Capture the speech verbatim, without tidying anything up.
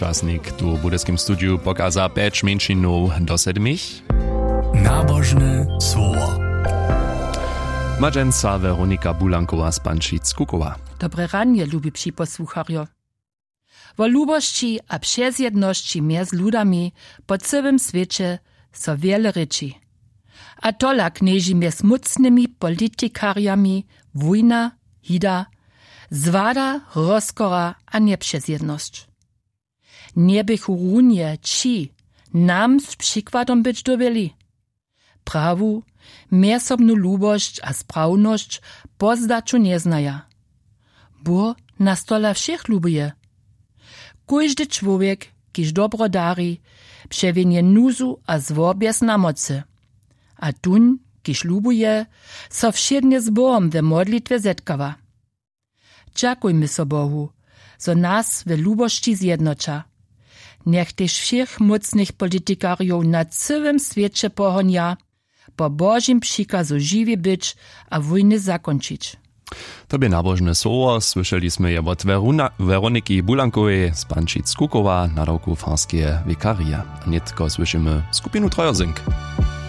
Časnik tu w budyskim studiju pokaza pjeć mjeńšinow do sedmich. Nabožne słowo. Madźenca Weronika Bulankowa z Pančic-Kukowa. Dobre ranje, lubi připosłucharjo. Wo lubosći a přezjednosći mjez ludami po cyłym swěće so wjele rěči. A tola knježi mjez mócnymi politikarjami wójna, hida, zwada, rozkora a njepřezjednosć. Njeběchu runje ći nam z přikładom być dyrbjeli? Prawu, mjezsobnu lubosć a sprawnosć pozdaću njeznaja. Bóh nas tola wšěch lubuje. Kóždy čłowjek, kiž dobro dari, přewjenje nuzu a zło bjez namocy. A tón, kiž lubuje, so wšědnje z Bohom we modlitwje zetkawa. Dźakujmy so Bohu, zo nas we lubosći zjednoća. Njech tež wšěch mócnych politikarjow na cyłym swěće pohonja, po Božim přikazu žiwi być a wójny zakónčić. To bě nabožne słowo, słyšeli smy je wot Weruna-, Weroniki Bulankowej z Pančic-Kukowa, nadawku farskeje wikarije. A nětko słyšimy skupinu Trojerzynk.